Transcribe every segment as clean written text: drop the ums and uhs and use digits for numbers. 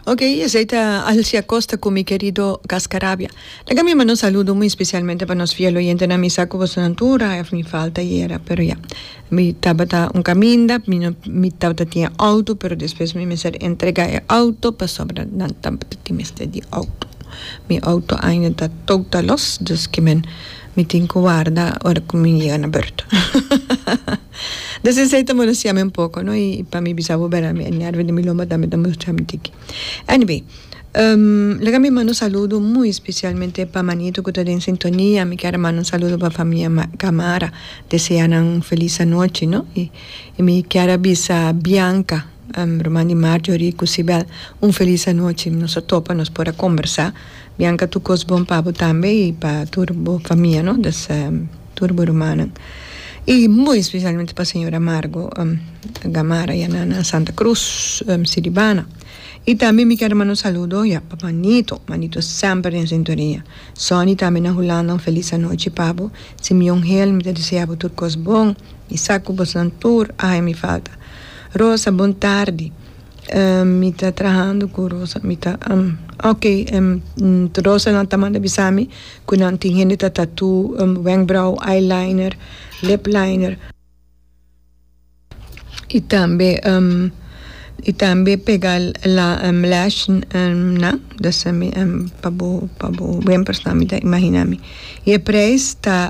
Ok, esei ta Alci Acosta cu mi querido Cascarabia. Laga mi manda un saludo muy especialmente pa nos fiel oyentenan. Mi sa cu bosonan tur a hef mi falta ayera, pero ya. Mi tabata un caminda, mi no mi tabata tin e auto, pero despues mi mester entrega e auto pasobra nan tabata tin mester di auto. Mi auto ainda ta total los, dus ke men mi tin cu warda ora cu mi yega na beurt. Dus esei ta molestia mi un poco, no, y pa mi bisa bo bera mi e nervio di mi lomba tambe ta molestia mi tiki. Anyway, laga mi manda un saludo muy especialmente pa Manito cu ta den sintonia, mi kier a manda un saludo pa famia Camara, desea nan un feliz anochi, no, y mi kier a bisa Bianca, ruman di Marjorie cu Sibel, un feliz anochi, nos a topa, nos por a combersa, Bianca tur cos bon pa bo tambe y pa tur bo famia, no, dus. Tur bo rumannan y muy especialmente pa señora Margo Gamara ya na na Santa Cruz Siribana y tambe mi kier manda un saludo ya pa Manito, Manito semper den sintonia, Sonny tambe na Hulanda un feliz anochi pa bo, Simeon Hill mi ta desea bo tur cos bon mi sa cu bosnan tur a haña mi falta, Rosa bon tardi. Mi ta trahando ku Rosa mi ta ok Rosa nan ta manda bisa mi ku nan tin hende ta tatu wenkbrauw, eyeliner, lip liner i tambe i tambe pega lash nan dus pa bo pa bo wempers nan mi ta imagina mi i e prijs ta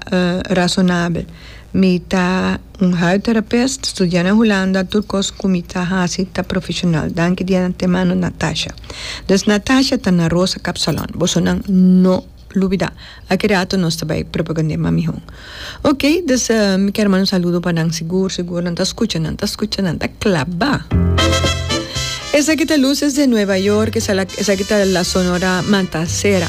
rasonabel. Mi ta un huidtherapist, studia na Hulanda, tur kos ku mi ta hasi ta profeshonal. Danki di antemano Natasha. Dus Natasha ta na Rosa Kapsalon. Bosonan no lubida. Aki rato nos ta bai propagand'é mas mihó. Ok, dus mi kier manda un saludo pa nan sigur sigur nan ta skucha, nan ta skucha, nan ta klabá. Esaki ta Luces de Nueva York, esaki ta La Sonora Matancera.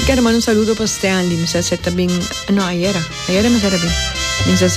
Mi kier manda un saludo pa Stanley, mi sa si e ta bin, no ayera. Ayera mi sa ta bin. Mi sa.